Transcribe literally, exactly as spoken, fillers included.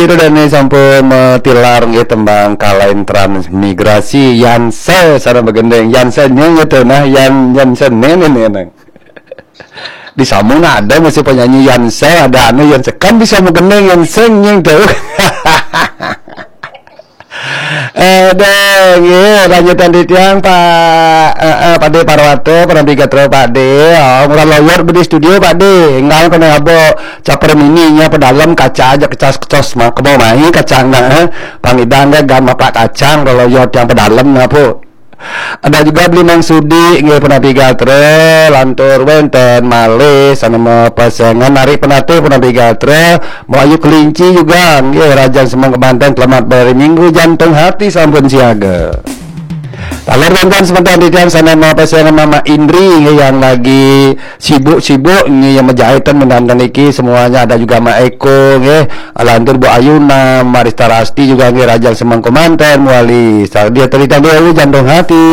Itu dan ini sampun metilar nggih tembang Kalain Transmigrasi, Yanse sareng begendeng. Yanse nyeng itu nah, Yan Yanse nene nene. Di Samun ada masih penyanyi Yanse, ada anu Yanse kan bisa begendeng Yanse nyeng tuh. Eh, deh, nggih, lanjutan di tiang Pak eh, eh, Pak De Parwato, pernah bigat Pak De. Oh, murah lawyer di studio Pak De. Enggak kena abo caper mininya pedalem kaca aja kecas-kecos mah kebo main kacang nah. Eh. Pangidang deh gam apa kacang kalau yo tiang pedalem nah, Bu. Ada juga beli Mang Sudi nggih pernah bigat lantur wenten malih sana mau pasangan narik penatih pernah bigat mau ayu kelinci juga nggih rajan semang kemanten selamat hari minggu jantung hati sampun siaga. Taler dan sebentar di tiang sana mau pasangan Mama Indri nggih yang lagi sibuk-sibuk nggih yang menjahitan menantan iki semuanya ada juga Mak Eko nggih lantur Bu Ayuna, Marista Rasti juga nggih rajan semang kemanten wali. Dia cerita dulu jantung hati.